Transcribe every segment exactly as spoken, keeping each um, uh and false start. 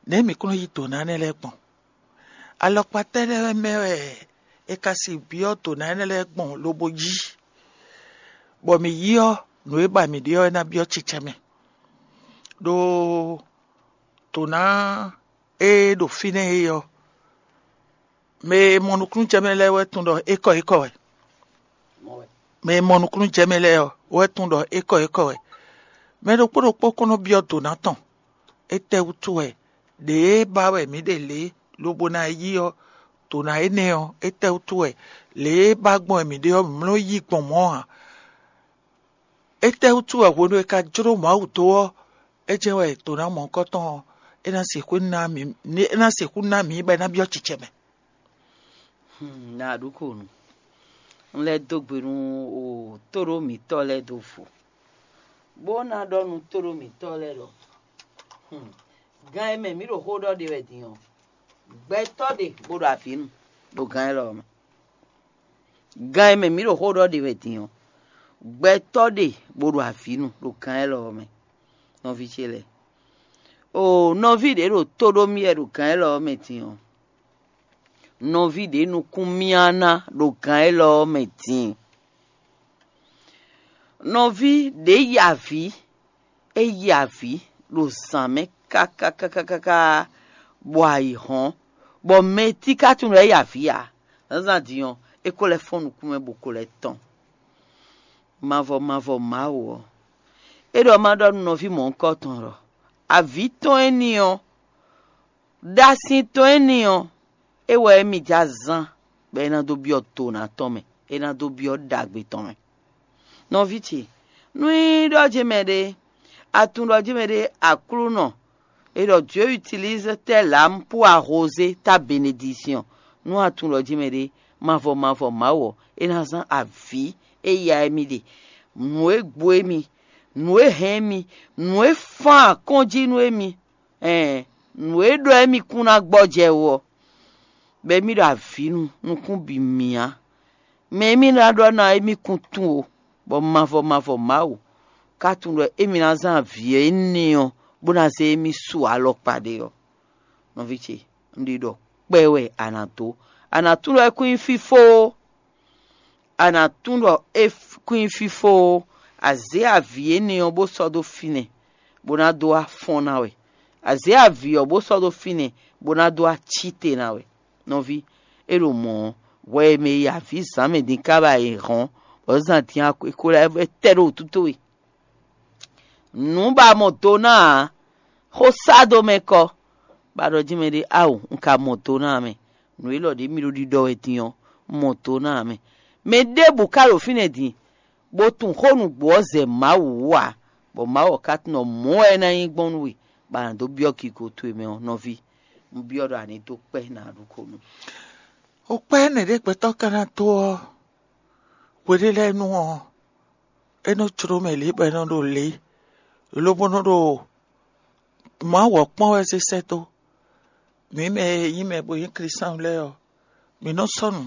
Nɛ̌ mǐ kún nɔ yí dǒ ná énɛ́ lɛ́ɛ gbɔn? Alɔkpa tɛ́ lɛ́ɛ mɛ wɛ è ka si byɔ́ dǒ ná énɛ́ lɛ́ɛ gbɔn lobo yí, bɔ mǐ yí ɔ́, nǔ e ba mǐ ɖe ɔ́ é ná byɔ́ cɛcɛ mɛ. Ɖó dǒ ná e ɖo fínɛ́ é ɔ́, mɛ e mɔ nukúnnú jɛ mɛ lɛ́ɛ wɛ tunwun ɖɔ é kɔ é kɔ wɛ. Mɛ e mɔ nukúnnú jɛ mɛ lɛ́ɛ ɔ́ wɛ tunwun ɖɔ é kɔ é kɔ wɛ. Mɛ ɖokpó ɖokpó kɔn nɔ byɔ́ dǒ ná tɔn. Étɛ́wútu wɛ ɖě e ba wɛ mǐ ɖe lě lobo ná yí ɔ́, dǒ ná énɛ́ ɔ́, étɛ́wútu wɛ lě e ba gbɔn wɛ mǐ ɖe ɔ́, mǐ mló yí gbɔn mɔ̌ ǎ? Étɛ́wútu wɛ hwenu e ka jló Mawu dó ɔ́, é jɛ́n wɛ dǒ ná mɔ̌hunkɔtɔn ɔ́, é ná sixú ná mǐ, é ná sixú ná mǐ bɔ é ná byɔ́ cicɛ mɛ? Hmm, na ɖu ko nu. Un lɛ́ dó gbe nú o tóɖó mǐtɔn lɛ́ɛ dó vo, bó ná ɖɔ nú tóɖó mǐtɔn lɛ́ɛ ɖɔ, hmm, gan e mɛ mǐ ɖo xó ɖɔ ɖe wɛ din ɔ́, gbɛtɔ́ ɖe bó ɖo avǐ nu ɖo gan élɔ́ ɔ́ mɛ. Gan e mɛ mǐ ɖo xó ɖɔ ɖe wɛ din ɔ́, gbɛtɔ́ ɖe bó ɖo avǐ nu ɖo gan élɔ́ ɔ́ mɛ. Nɔví ce lɛ́ɛ, o nɔví ɖě ɖo tó ɖó mì wɛ ɖo gan élɔ́ ɔ́ mɛ din ɔ́, nɔví ɖě nukún myá ná ɖo gan élɔ́ ɔ́ mɛ din. Nɔví ɖě yi avǐ, é yi avǐ ɖo zǎn mɛ kákákákáká, bɔ ayǐ hɔ́n, bɔ mɛ e tíká tunwun lɛ́ɛ yi avǐ ǎ. Zǎnzǎn din ɔ́, é ko lɛ́ fɔ́n nukún mɛ bó ko lɛ́ tɔ́n. Mavɔ mavɔ Mawu ɔ́, é ɖɔ ma ɖɔ nú nɔví mɔ̌hunkɔtɔn ɖɔ avǐ tɔn éní ɔ́, ɖasin tɔn éní ɔ́, é wɛ émí jɛ azán bɔ é ná dó byɔ́ dǒ ná tɔn mɛ, é ná dó byɔ́ ɖagbe tɔn mɛ. Nɔví ce, nú é ɖɔ jɛ́n mɛ ɖé, a tunwun ɖɔ jɛ́n mɛ ɖé Aklúnɔ, é ɖɔ Dieu utilise telle âme pour arroser ta bénédiction. Nú a tunwun ɖɔ jɛ́n mɛ ɖé, mavɔ mavɔ Mawu ɔ́, é ná zán avǐ e ya émí ɖe, nǔ e gbo émí, nǔ e hɛn émí, nǔ e fán akɔ́njí nú émí, ɛɛn nǔ e ɖɔ émí kún ná gbɔjɛ́ wú ɔ́, bɔ émí ɖo avǐ nu nukún bǐ mì ǎ. Mɛ e mì ná ɖɔ ná émí kún tunwun o, bɔ mavɔ mavɔ Mawu ka tunwun ɖɔ émí ná zán avǐ énɛ́ ɔ́ bó ná zé émí su alɔkpa ɖé ɔ́. Nɔví ce, un ɖi ɖɔ kpɛ wɛ a nǎ dó. A nǎ tunwun ɖɔ é kún nyí fífó ó. A nǎ tunwun ɖɔ é kún nyí fífó ó. A zě avǐ énɛ́ ɔ́ bó sɔ́ dó fínɛ́, bó ná dó wá fɔ́n ná wɛ. A zě avǐ ɔ́ bó sɔ́ dó fínɛ́, bó ná dó wá cí te ná wɛ. Nɔví, é ɖo mɔ̌ ɔ́, hwɛ e mɛ yi avǐ zǎn mɛ din kába e hɔn, bɔ zan din ko lɛ́ vɛ tɛ ɖo wǔtu towe. Nǔ ba mɔ do ná ǎ, xó sá dó mɛ kɔ, bɔ a ɖɔ jí mɛ ɖé, ao, un ka mɔ do ná ǎ mɛ. Nǔ élɔ́ ɖě mì ɖo ɖiɖɔ wɛ din ɔ́, un mɔ do ná ǎ mɛ. Mɛ ɖěbǔ ka ɖo fínɛ́ din, bó tunwun xó nǔgbó ɔ́ zɛ Mawu wú ǎ, bɔ Mawu ɔ́ ka tunwun ɖɔ mɔ̌ wɛ é ná nyí gbɔn nú we, bɔ a nǎ dó byɔ́ gigo towe mɛ ɔ́, nɔví. Un byɔ́ ɖɔ a ní dó kpɛ́ nǎ ɖu ko nú. O kpɛ́ nɛ̌ ɖé gbɛtɔ́ ka ná dó ɔ́, hwe ɖé lɛ́ɛ nu ɔ́, é nɔ jló mɛ lě bɔ é nɔ ɖo lě, lobo nɔ ɖo Mawu ɔ́ kpɔ́n wɛ zé sɛ́ dó. Mǐ mɛ e nyí mɛ bó nyí Klísuwú lɛ́ɛ ɔ́, mǐ nɔ sɔ́ nǔ,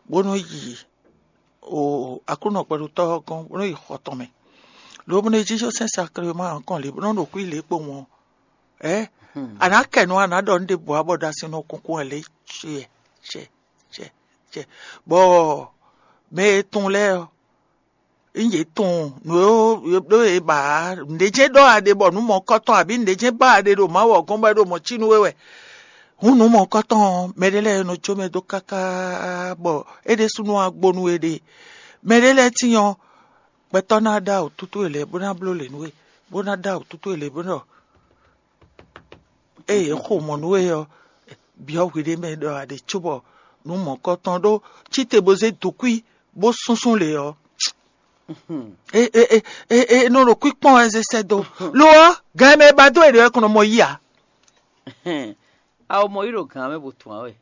bó nɔ yi o Aklúnɔ gbɛɖutɔ́ ɔ́ gɔ́n, bó nɔ yi xɔ tɔn mɛ, lobo nɔ yi jínjɔ́n sɛ́n saklemá ɔ́ kɔn lě bó nɔ ɖo xwí lě kpowun ɔ́. Ɛ a nǎ kɛ nǔ a nǎ ɖɔ nǔ ɖěbǔ ǎ bɔ ɖo asi nɔ kunkun wɛ lě cɛ cɛ cɛ cɛ bɔ mɛ e tunwun lɛ́ɛ ɔ́, un yě tunwun nǔ e ɖó e ba ǎ. Nǔɖé jɛ́n ɖɔ a ɖe bɔ nǔ mɔ̌kɔtɔn abǐ nǔɖé jɛ́n ba a ɖe ɖo Mawu ɔ́ gɔ́n bɔ é ɖo mɔ̌ cí nú we wɛ. Hǔn nǔ mɔ̌kɔtɔn ɔ́, mɛ ɖé lɛ́ɛ nɔ jó mɛ dó káká bɔ é ɖésúnɔ wá gbo nú we ɖe. Mɛ ɖé lɛ́ɛ tíin ɔ́, gbɛtɔ́ ná ɖó awǔtútú e lɛ̌ bó ná bló lě nú we, bó ná ɖó awǔtútú e lě bó ɖɔ ée yě xo mɔ̌ nú we ɔ́, byɔ́ hwiɖée mɛ ɖɔ a ɖe cóbɔ nǔ mɔ̌kɔtɔn ɖó cí te bó zé dǒkwí bó súnsún lě ɔ́, é nɔ ɖo kwíkpɔ́n wɛ zé sɛ́ dó. Lo ɔ́, gan e mɛ e ba dó e ɖě wɛ kɔn nɔ mɔ yí ǎ. Awo mɔ yí ɖo gǎn mɛ bó tún wá wɛ.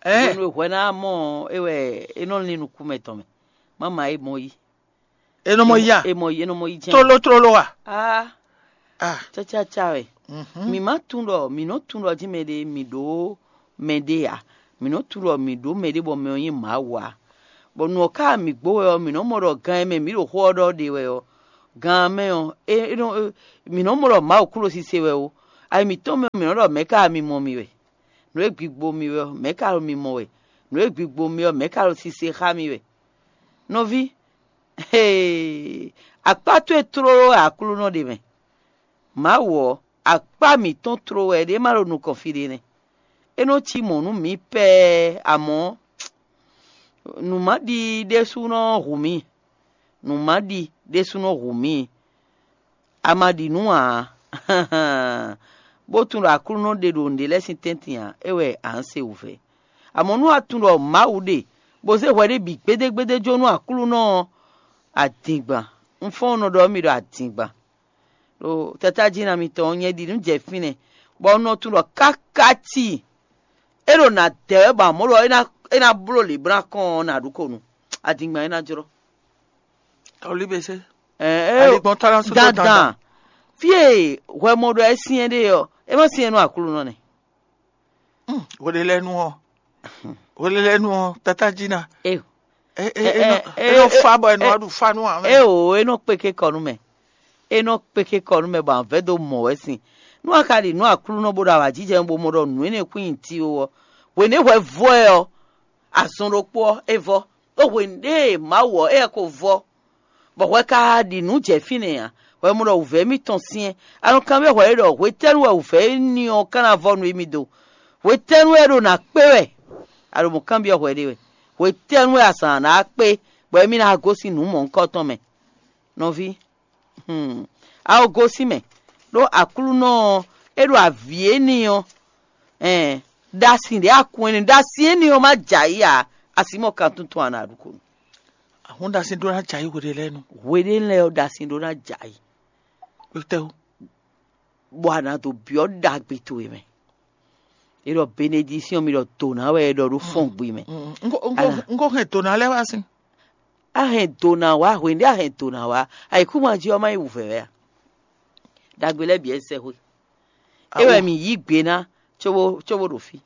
Hwenu e hwɛ ná mɔ é wɛ é nɔ lin nukún mɛ tɔn mɛ. Má ma é mɔ yí. E nɔ mɔ yí a? É mɔ yí, é nɔ mɔ yí jɛ́n. Tlóló tlóló a? Ah, ah, cacaca wɛ. Mi ma tún ɖɔ mi nɔ tún ɖɔ jí mɛ ɖé mi ɖó mɛ ɖé a? Mi nɔ tún ɖɔ mi ɖó mɛ ɖé bɔ mɛ ɔ́ nyí Mawu a? Bɔ nǔ ɔ́ ká mi gbó wɛ ɔ́, mi nɔ mɔ ɖɔ gan e mɛ mi ɖo xó ɔ́ ɖɔ ɖe wɛ ɔ́, gan mɛ ɔ́, é nɔ mi nɔ mɔ ɖɔ Mawu kú ɖo sise wɛ o. Ayi mǐtɔn mɛ mǐ nɔ ɖɔ mɛ̌ ka mi mɔ mi wɛ? Nǔ e gbigbo mi wɛ ɔ́, mɛ̌ ka ɖo mi mɔ wɛ? Nǔ e gbigbo mi ɔ́, mɛ̌ ka ɖo sise xá mi wɛ? Nɔví, hee, akpá towe tlóló wɛ Aklúnɔ ɖe mɛ. Mawu ɔ́, akpá mǐtɔn tló wɛ ɖě ma ɖo nukɔn fí ɖé nɛ́. É nɔ cí mɔ̌ nú mǐ pɛ́ɛ, amɔ̌ nǔ ma ɖi ɖésúnɔ hu mǐ. Nǔ ma ɖi ɖésúnɔ hu mǐ. A ma ɖi nǔ ǎ. Bó tunwun ɖɔ Aklúnɔ ɖe ɖo nǔɖé lɛ́ɛ sín tɛ́ntin ǎ, é wɛ a nǎ se wǔvɛ́. Amɔ̌ nú a tunwun ɖɔ Mawu ɖe, bó zé hwɛ ɖé bǐ gbédégbédé jó nú Aklúnɔ ɔ́, a dǐngban. Un fɔ́n un nɔ ɖɔ nú mi ɖɔ a dǐngban. Ɖo tata jí ná mitɔn ɔ́, nyɛ ɖi nǔ jɛ fínɛ́, bɔ un nɔ tunwun ɖɔ káká tíi é ɖo nǎ dɛ wɛ, bɔ amɔ̌ ɖɔ é ná é ná bló lě bó ná kɔn ɔ́, nǎ ɖu ko nu. Adingban é ná jlɔ́. Olíbese. Ɛ ɛ Aligbɔn tɔ́ ná sú tó dandan. Dandan. Fí e hwɛmɔ ɖɔ é syɛ́n ɖe ɔ́, é má syɛ́n nú Aklúnɔ nɛ́. Hweɖelɛ́nu ɔ́, hweɖelɛ́nu ɔ́, tata jí ná. É É é Ɛ, é nɔ ɛ, é nɔ é, fa bɔ é nɔ é, wá ɖu fa nú ǎ mɛ. É o, é nɔ kpéké kɔ nú mɛ. É nɔ kpéké kɔ nú mɛ bɔ avɛ̌ dó mɔ wɛ sin. Nú a ka ɖi nǔ Aklúnɔ bó ɖo awǎjijɛ bó mɔ ɖɔ nǔ énɛ́ kún nyi ti ó ɔ́, hwěnɛ́ hwɛ vɔ ɛ ɔ́, azɔn ɖokpó ɔ́, é vɔ. Ɖó hwěnɛ́ e Mawu ɔ́, éyɛ́ ko vɔ, bɔ hwɛ ka ɖi nǔ jɛ fínɛ́ ǎ. Hwɛ mɔ ɖɔ wǔvɛ́ mitɔn syɛ́n. A nɔ kanbyɔ́ hwɛ é ɖɔ hwetɛ́nu wɛ wǔvɛ́ éní ɔ́ ka ná vɔ nú émí do? Hwetɛ́nu wɛ é ɖo nǎ kpé wɛ? A ɖo mɔ̌ kanbyɔ́ hwɛ ɖé wɛ. Hwetɛ́nu wɛ azǎn ná kpé, bɔ émí ná gosín nǔ mɔ̌hunkɔtɔn mɛ? Nɔví, hmm, a ko gosín mɛ, ɖó Aklúnɔ ɔ́, é ɖo avǐ éní ɔ́, ɛn, ɖasin ɖě a kun éní, ɖasin éní ɔ́ má jɛ ayǐ ǎ, a sǐ mɔ kan tuntun a nǎ ɖu ko nú. Ahɔn ɖasin ɖó ná jɛ ayǐ hweɖelɛ́nu. Hweɖelɛ́ ɔ́, ɖasin ɖó ná jɛ ayǐ. Kpétɛ́wú. Bɔ a nǎ dó byɔ́ ɖagbe towe mɛ. É ɖɔ benedisíɔn mi ɖɔ dǒ ná wɛ é ɖɔ ɖó fɔ́n gbe mɛ. Un ko- un ko- Ana. Un ko hɛn dǒ ná lɛ́ɛ wá sín. A hɛn dǒ ná wá, hwěɖé a hɛn dǒ ná wá, ayǐkúngban jí ɔ́ má nyí wǔvɛ́ wɛ a? Ɖagbe lɛ́ɛ bǐ wɛ sɛ́xwé. É wɛ mǐ yí gbe ná cóbó cóbó ɖo fí.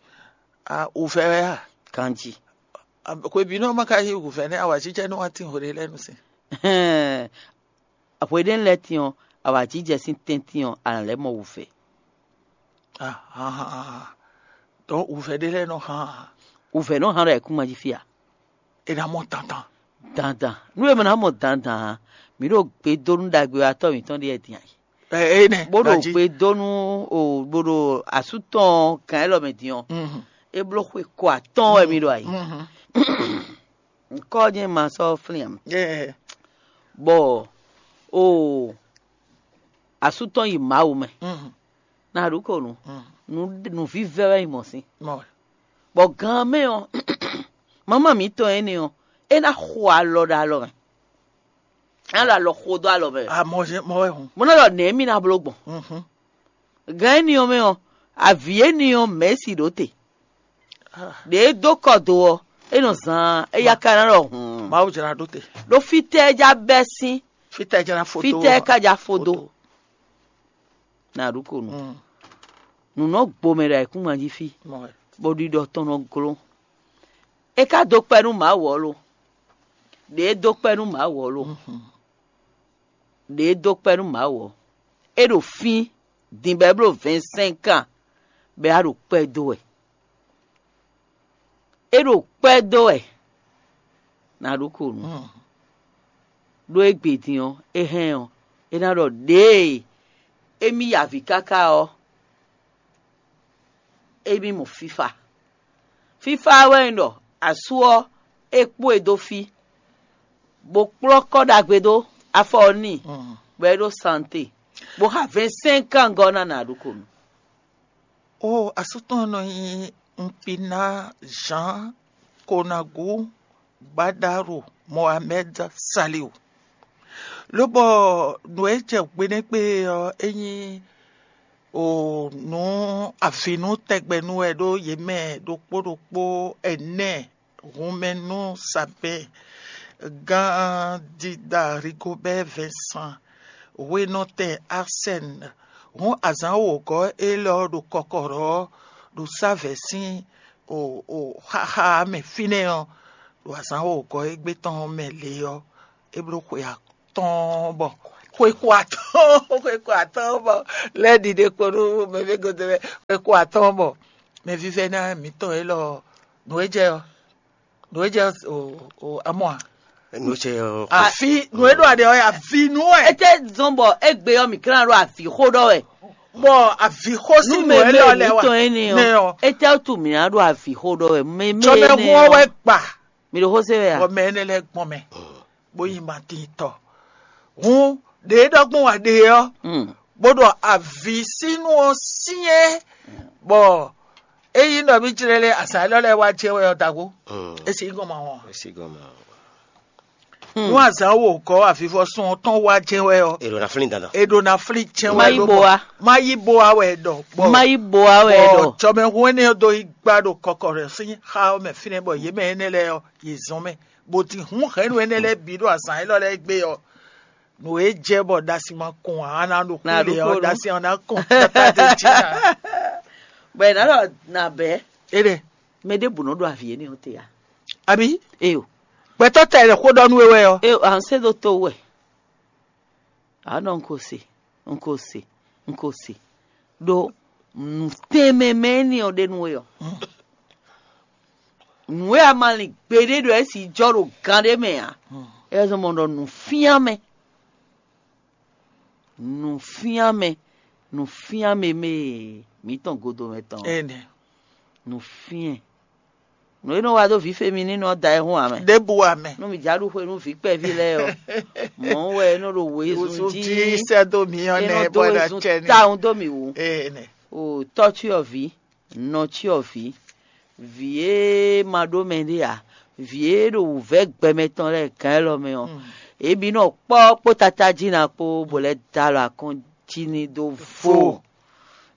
A wǔvɛ́ wɛ a? Ganjí. Hwebǐnu ɔ́ ma ka yí wǔvɛ́ nɛ́ awǎjijɛ nú wá tín hweɖelɛ́nu sín. Hwěɖé lɛ́ɛ tín ɔ́, awǎjijɛ sín tɛ́ntin ɔ́, a nǎ lɛ́ mɔ wǔvɛ́. Ahan. Dɔn wǔvɛ́ ɖé lɛ́ɛ nɔ hán. Wǔvɛ́ nɔ hán ɖo ayǐkúngban jí fí a? È nǎ mɔ dandan. Dandan. Nú è mɔ ná mɔ dandan ǎ, mǐ ɖo gbe dó nú ɖagbe ɔ́ atɔ́ mǐtɔn ɖíe din ayǐ. Ɛ ɛ nɛ. Bó ɖo gbe dó nú o bó ɖo asú tɔn gǎn élɔ́ mɛ din ɔ́, é bló xwe ko atɔ́ɔ́n wɛ mì ɖo ayǐ. Ŋkɔ́ jɛ́n ma sɔ́ flín ǎ. Bɔ o asú tɔn yi Mawu mɛ. Na ɖu ko nu. Nǔvívɛ́ wɛ nyí mɔ̌ sín. Bɔ gan mɛ ɔ́, mama mǐtɔn énɛ́ ɔ́, é ná xo alɔ ɖo alɔ mɛ. É ná ɖo alɔ xo dó alɔ mɛ. Amɔzɛn mɔ wɛ hun. Mo ná ɖɔ nɛ̌ mì ná bló gbɔn. Gan énɛ́ ɔ́ mɛ ɔ́, avǐ énɛ́ ɔ́ mɛ̌si ɖó te. Ɖě é dó kɔ do ɔ́, é nɔ zaan, éyá ka ná ɖɔ hǔn. Mawu jlá ɖó te. Ɖó fítɛ́ é já bɛ́ sín? Fítɛ́ jlá fó dó? Fítɛ́ é ka já fó dó? Na ɖu ko nu. Nǔ nɔ gbo mɛ ɖo ayǐkúngban jí fí, bɔ ɖiɖɔ tɔn nɔ gló. É ka dó kpɛ́ nú Mawu ɔ́ lo? Ɖě é dó kpɛ́ nú Mawu ɔ́ lo? Ɖě é dó kpɛ́ nú Mawu ɔ́, é ɖo fín din bɔ é bló vɛ̌nsɛ́nkan bɔ é wá ɖo kpɛ́ dó wɛ. É ɖo kpɛ́ dó wɛ. Na ɖu ko nu. Ɖó égbé din ɔ́, é hɛn ɔ́, é ná ɖɔ ɖěe émí ya avǐ káká ɔ́, émí mɔ fífá. Fífá wɛ nyí ɖɔ asú ɔ́, é kpó e dó fí, bó kplɔ́ kɔ́ ɖagbe dó afɔ ɔ́ n'i, bɔ é ɖó sante, bó xa vɛ̌nsɛ́nkan gɔ́ ná nǎ ɖu ko nu. O asú tɔn nɔ nyí Nkpina Jean Konagu Gbadaru Mohamed Saliu. Lobɔ nǔ e jɛ gbenɛ́gbe ɔ́, é nyí o nǔ avǐnú tɛgbɛ nú wɛ ɖó yě mɛ ɖokpó ɖokpó ɛnɛ hun mɛ nú Sabɛn, gán Dida Rigobɛ́ Vɛnsan, hwenɔtɛn Arsɛn, hǔn azǎn wǒgɔ́ élɔ́ ɖo kɔkɔɖɔ ɔ́ ɖo sávɛ̌ sín o o xaxa mɛ fínɛ́ ɔ́, ɖo azǎn wǒgɔ́ égbé tɔn mɛ lě ɔ́, é bló xwe atɔ́ɔ́n bɔ Xwe ko atɔ́ɔ́n, xwe ko atɔ́ɔ́n bɔ lɛ́ɛ ɖiɖe kpo nú mɛvɛ́ godo lɛ́ɛ. Xwe ko atɔ́ɔ́n bɔ mɛvívɛ́ná mǐtɔn élɔ́, nǔ e jɛ ɔ́, nǔ e jɛ ɔ́, o o amɔ a? Nú ce ɔ́. Afi nǔ e ɖo aɖe ɔ́, avi nú wɛ. Ete zɔn bɔ egbe ɔ́ mi klán ɖo avi xó ɖɔ wɛ. Bɔ avi xó sí Nú nǔ mɛ élɔ́ mɛ lɛ wa mitɔn énɛ́ nɛ ɔ ɔ. Ete tu mi ná ɖo avi xó ɖɔ wɛ. Mɛ mɛ Tsɔmɛ énɛ́ hu ɔ́ wɛ ɔ. gba. Mi ɖo xó se wɛ Bɔ a? Mɛ énɛ́ lɛ́ɛ gbɔn mɛ, bó yi ma tín tɔ. Hun ɖě ɖɔgbɔn wa ɖe ɔ́, Mm. bó ɖɔ avi sínú ɔ́ syɛ́n, bɔ é yí nɔ mí jlɛ́ lé azǎn élɔ́ lɛ́ɛ wá jɛ wɛ ɔ́ dagbo. É sì gɔn ma wɔn. Esi gɔmɔ. Nú azǎn wo gɔ́ avivɔsɔn tɔn wá jɛ wɛ ɔ́, Èrò na flin dandan. è ɖo na flí jɛ Má wɛ yí ló bo bɔ- wá. Má yí bo wá wɛ ɖɔ. Bɔ- Má yí bo wá wɛ bɔ ɖɔ. Tsɔmɛhu énɛ́ ɔ́ dó yi gbá ɖo kɔkɔ rɛ sín xá ɔ́ mɛ fínɛ́ bɔ yě mɛ énɛ́ lɛ́ɛ ɔ́, yě zɔn mɛ, bó ti hun hɛ̌nnu énɛ́ lɛ́ɛ bǐ ɖo azǎn élɔ́ lɛ́ɛ gbé ɔ́. Nǔ e jɛ bɔ ɖasi ma kɔn ǎ, a ná ɖo Ná kúɖe ɖo ɔ́, kúɖe. Ɖasi ɔ́ ná kɔn tata ɖe jí ná. Bɔ ɛ ná ɖɔ nà bɛ́. Éɖe, Mɛ ɖěbǔ nɔ ɖo avi énɛ́ ɔ́ te a? Abi, Eyo. Gbɛtɔ́ tɛ lɛ xó ɖɔ nú we wɛ ɔ́. Eyo, à ń sɛ́ ɖó tó wɛ. À nɔ ń kó se, ń kó se, ń kó se. Ɖó nǔ tɛnmɛ mɛ énɛ́ ɔ́ ɖe nú we ɔ́. Nǔ e a ma lin gbeɖé ɖɔ é sì jɔ ɖo gan ɖé mɛ ǎ. É zɔn mɔ ɖɔ nǔfíán mɛ. Nǔfíán mɛ, nǔfíán mɛ mɛ mǐtɔn godo mɛ tɔn. Énɛ́. Nǔfíɛn. Nǔ e nɔ wa dó vǐ femi ní nɔ da ɛ hún amɛ. Ɖěbǔ amɛ. Nú mi já ɖu xwe nú vǐ kpɛví lɛ́ɛ ɔ́, mɔ̌ wɛ é nɔ ɖo wězun Wosú jí. jí sɛ́ dó mǐ ɔ́ É nɛ nɔ dó bɔ ná wězun tsɛ ní. Táhun dó mì wú. Énɛ́. O tɔ́ cyɔ vǐ, nɔ cyɔ vǐ, vǐ e ma ɖó mɛ ɖé ǎ, vǐ e ɖo wǔvɛ́ gbɛmɛ tɔn lɛ́ɛ gǎn élɔ́ mɛ ɔ́, é bí nɔ kpɔ́ kpó tata jí ná kpó bó lɛ́ dó alɔ akɔ́n jí ní dó vo.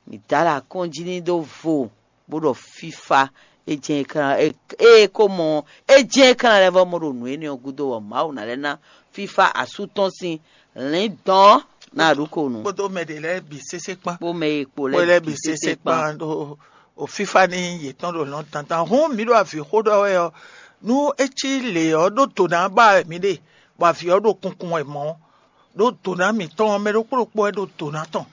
Mǐ dó alɔ akɔ́n jí ní dó vo, bó ɖɔ fífá é jɛ́n é klán é é ko mɔ é jɛ́n é klán lɛ́ vɔ mɔ ɖo nǔ énɛ́ ɔ́ gúdo bɔ Mawu ná lɛ́ ná fífá asú tɔn sín lǐndɔ̌n ná ɖu ko nǔ. Kpódó mɛ ɖě lɛ́ɛ bǐ sésé kpán. Kpó mɛ e kpo Kpó lɛ́ɛ lɛ́ɛ bǐ bǐ sésé sésé kpán. kpán ɖo o fífá ní yětɔn ɖo lɔn dandan. Hǔn mǐ ɖo avǐ xó ɖɔ wɛ ɔ́, nú é cí lě ɔ́ ɖó dǒ ná ba wɛ mǐ ɖe, bɔ avǐ ɔ́ ɖo kunkun wɛ mɔ̌, ɖó dǒ ná mǐtɔn ɔ́, mɛ ɖokpó ɖokpó wɛ ɖo dǒ ná tɔn.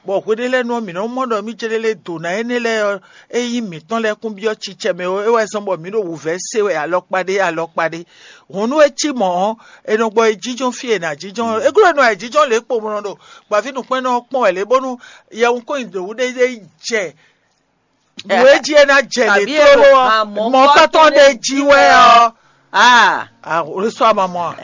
Bɔ hweɖé lɛ́ɛ nu ɔ́, mǐ nɔ́ mɔ ɖɔ mí jlé lé dǒ ná énɛ́ lɛ́ɛ ɔ́, é nyí mǐtɔn lɛ́ɛ kún byɔ́ cicɛ mɛ ó, é wɛ zɔ́n bɔ mǐ ɖo wǔvɛ́ se wɛ alɔkpa ɖé alɔkpa ɖé. Hǔn nú é cí mɔ̌ ɔ́, è nɔ gbɔ yi jínjɔ́n fí e è nǎ jínjɔ́n ɔ́. É glɔ́ nɔ ayǐjínjɔ́n lě kpo mɔ ɖo gbaví nǔkpɛ́nnɔ ɔ́ kpɔ́n wɛ lě bónú yɛhun kó nyi dǒwú ɖé ɖé yi jɛ nǔ e jí é ná jɛ lě Tàbí èrò tlóló ɔ́, àmọ́ mɔ̌kpátɔ́ kpátɔ́ ɖé ɖé jí jí wɛ wɛ ɔ́. Ah, Àwòrán sọ àmọ́ mọ́ a.